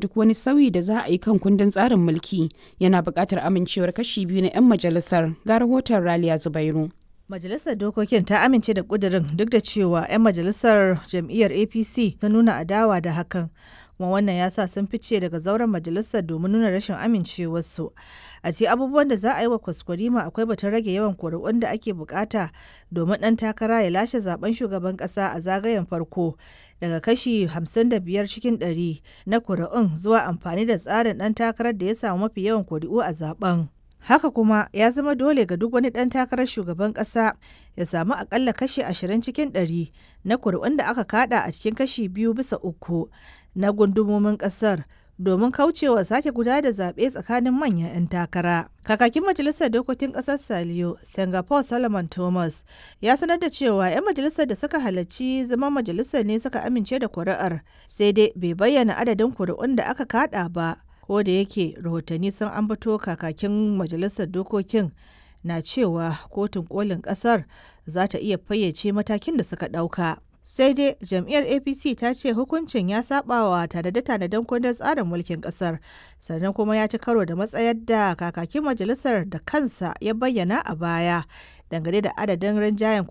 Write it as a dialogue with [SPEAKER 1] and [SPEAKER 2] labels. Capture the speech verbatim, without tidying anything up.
[SPEAKER 1] duk wani sauyi da za a yi kan kundin tsarin mulki yana buƙatar amincewar kashi biyu na 'yan majalisar ga rahoton Raliya Zubairu.
[SPEAKER 2] Majalisar Dokokin ta amince da ƙudurin duk da cewa 'yan majalisar jam'iyyar A P C ta nuna adawa da hakan. Kuma wannan ya sa sun fice daga zauren majalisar domin nuna rashin amincewarsu. A ce abubuwan da za a yi wa kwaskwarima akwai batun rage yawan kuri'un da ake bukata domin ɗan takara ya lashe zaben shugaban ƙasa a zagayen farko daga kashi hamsin da biyar cikin ɗari na kuri'un zuwa amfani da tsarin ɗan takarar da ya samu mafi yawan kuri'u a zaben. Haka kuma ya zama dole ga duk wani ɗan takarar shugaban ƙasa ya samu akalla kashi ashirin cikin ɗari na kuri'un da aka kada a cikin kashi biyu bisa uku na gundumomin ƙasar domin kaucewa sake gudanar da zaɓe tsakanin manyan 'yan takara. Kakakin Majalisar Dokokin Ƙasar Saliyo, Singapore Solomon Thomas, ya sanar da cewa 'yan majalisar da suka halarci zaman majalisar ne suka amince da kuri'ar, sai dai bai bayyana adadin kuri'un da aka kada ba. Ko da yake rahotanni sun ambato kakakin majalisar dokokin na cewa kotun kolin kasar za ta iya fayyace matakin da suka ɗauka. Sai dai jam'iyyar A P C ta ce hukuncin ya sabawa tanade-tanaden kundin tsarin mulkin kasar, sannan kuma ya ci karo da matsayar da kakakin majalisar da kansa ya bayyana a baya dangane da adadin rinjayen